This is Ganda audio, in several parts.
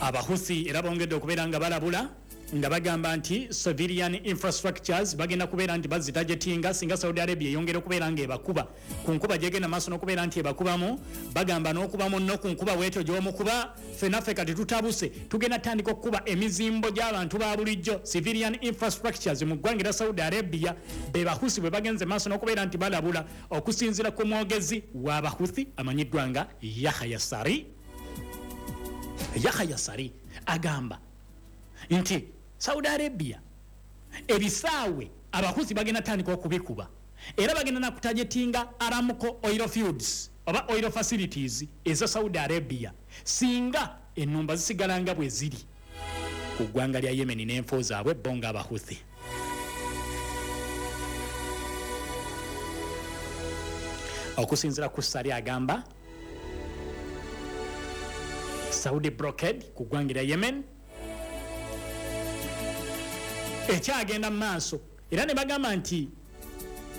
Abahuthi era bongedde okubeera nga balabula nga bagamba nti civilian infrastructures bagenda kubeera nti bazitargetinga singa Saudi Arabia eyongera okubeera nga ebakuba ku nkuba gyegenda maaso n'okubeera nti ebakubamu. Bagamba n'okuba munno ku nkuba bwetyo gy'omukuba, ffenaffe kati tutabuse, tugenda tandika okukuba emizimbo gy'abantu ba bulijjo, civilian infrastructures mu ggwanga erya Saudi Arabia. Be Bahusi bwe bagenze maaso n'okubeera nti balabula, okusinziira ku mwogezi w'Abahuthi amanyiddwa nga Yahya Sari. Yahya Sari agamba nti Saudi Arabia ebisaawe Abahuthi bagenda tandika okubikuba, era bagenda nakutargetinga Aramco oil fields oba oil facilities eza Saudi Arabia singa ennumba zisigala nga bwe ziri ku ggwanga lya Yemen n'enfo zaabwe bo nga Abahuthi. Okusinziira ku Sari, agamba Saudi blockade ku ggwanga lya Yemen ekyagenda mu maaso, era ne bagamba nti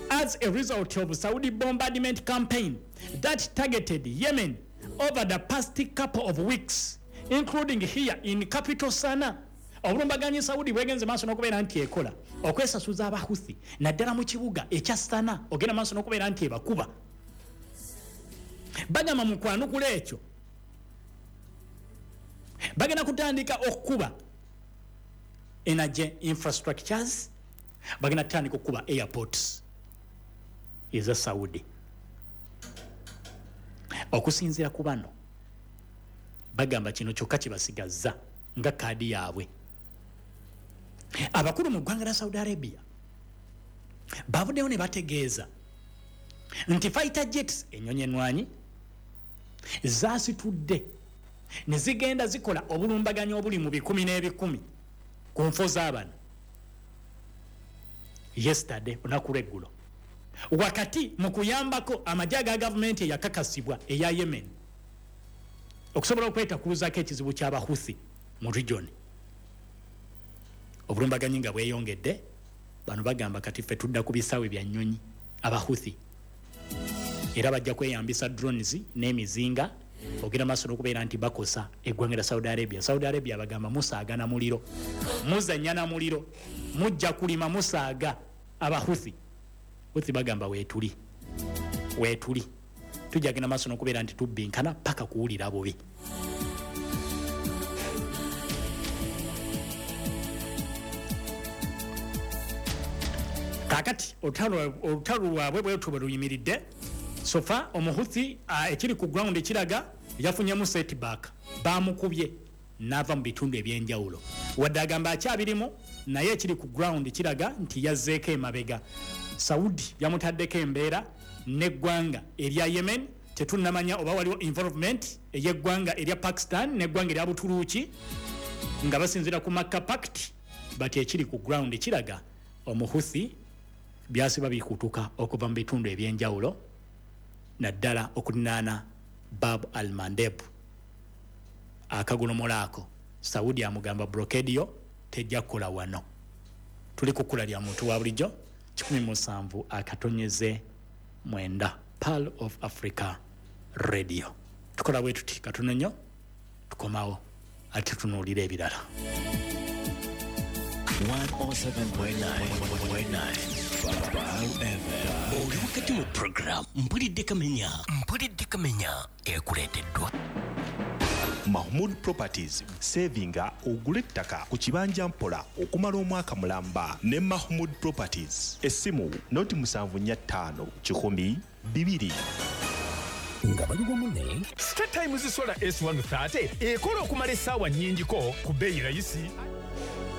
as a result of Saudi bombardment campaign that targeted Yemen over the past couple of weeks, including here in capital Sana. Obulumbaganyi Saudi bwegenze maaso n'okubeera nti ekola okwesasuza Abahuthi, naddala mu kibuga ekya Sana, ogenda maaso n'okubeera nti ebakuba. Bagamba mu kwanukula ekyo bagenda kutandika okukuba energy infrastructures, bagenda kutandika okukuba airports eza Saudi. Okusinziira ku bano, bagamba kino kyokka kibasigazza nga kaadi yaabwe. Abakulu mu ggwanga lya Saudi Arabia bavuddeyo ne bategeeza nti fighter jets, ennyonyi enwanyi, zasitudde ne zigenda zikola obulumbaganyi obuli mu bikumi n'ebikumi ku nfo z'abano yesterday, olunaku lweggulo, wakati mu kuyambako amagye aga gavumenti eyakakasibwa eya Yemen okusobola okwetakuluzaako ekizibu ky'Abahuthi mu region. Obulumbaganyi nga bweyongedde, bano bagamba kati ffe tudda ku bisaawe bya nnyonyi. Abahuthi era bajja kweyambisa drones n'emizinga ogenda maaso n'okubeera nti bakosa eggwanga lya Saudi Arabia. Saudi Arabia bagamba musaaga na muliro, muzanya na muliro, mujja kulima musaaga. Abahuthi Huthi bagamba weetuli, weetuli, tujja genda maaso n'okubeera nti tubbinkana paka kuwulira bubi. Kakati olutalo lwabwe bwetyo bwe luyimiridde. So far Omuhuthi, ekiri ku ground kiraga yafunyemu setback, bamukubye n'ava mu bitundu ebyenjawulo. Wadde agamba akyabirimu, naye ekiri ku ground kiraga nti yazzeeko emabega. Saudi yamutaddeko embeera n'eggwanga erya Yemen. Tetunnamanya oba waliwo involvement ey'eggwanga erya Pakistan n'eggwanga erya Buturuuki nga basinziira ku Makka Pact, but ekiri ku ground kiraga Omuhuthi byasiba bikutuka okuva mu bitundu ebyenjawulo, naddala okulinaana Bab al Mandeb akagolomola ako. Saudi amugamba blockade yo tejja kukola wano. Tuli ku kkula lya muntu wa bulijjo 107.9, Pearl of Africa Radio. Tukola bwe tuti, katono nnyo tukomawo ate tunuulira ebirala. 107.9 Pearl FM. Oli wakati mu program Mpulidde Kamenya. Mpulidde Kamenya ekuleeteddwa Mahmood Properties. Savinga ogule ettaka ku kibanja mpola okumala omwaka mulamba ne Mahmood Properties. Essimu noti 745 100 2. Nga bali wamu ne Star Times Solar S130 ekola okumala essaawa nnyingiko ku bbeeyi rayisi.